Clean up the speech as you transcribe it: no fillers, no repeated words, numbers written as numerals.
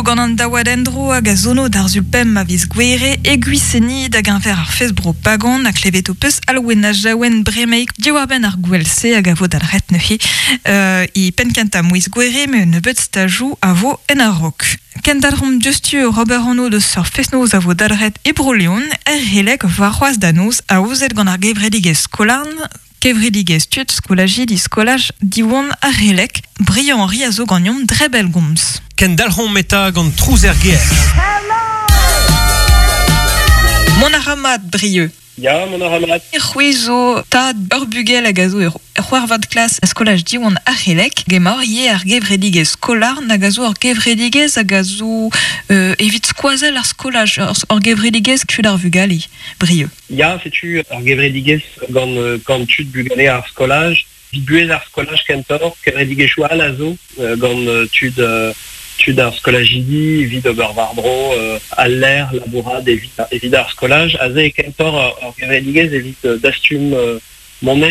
vo gant an daouad endro hag a zono d'ar sul pemp a viz Gouere e Gwiseni da geñver ar fest-bro Pagan ha klevet ho peus Alwena Jaouen bremaik diwar-benn ar gouel-se hag a vo dalc'het neuze e penn-kentañ miz Gouere met un nebeud stajoù a vo en a-raok. Kendalc'homp diouzhtu oc'h ober anv deus ur fest-noz a vo dalc'het e Bro-Leon er Releg warc'hoazh da noz aozet gant ar gevredigezh Skolarn, kevredigezh tud skolajidi skolaj Diwan ar Releg. Briand Henri a zo ganeomp dre bellgomz. Kendalc'homp eta gant trouz er gêr. Mont a ra mat, Brieux. Ya, mont a ra mat. C'hwi zo tad ur bugel hag a zo ur c'hwec'hvet klas a skolaj Diwan ar C'helleg. Emaoc'h ivez ar gevredigezh Skolarn hag a zo ur gevredigezh hag a zo evit skoazell ar skolaj, ur gevredigezh tud ar vugale, Brieux. Ya, setu ur gevredigezh gant gant tud bugale ar skolaj. Evit buhez ar skolaj kentoc'h, kevredigezhioù all a zo gant tud tud ar skolajidi evit ober war-dro al lec'h labourat evit evit ar skolaj. Aze eo kentoc'h ur gevredigezh evit dastum moneiz.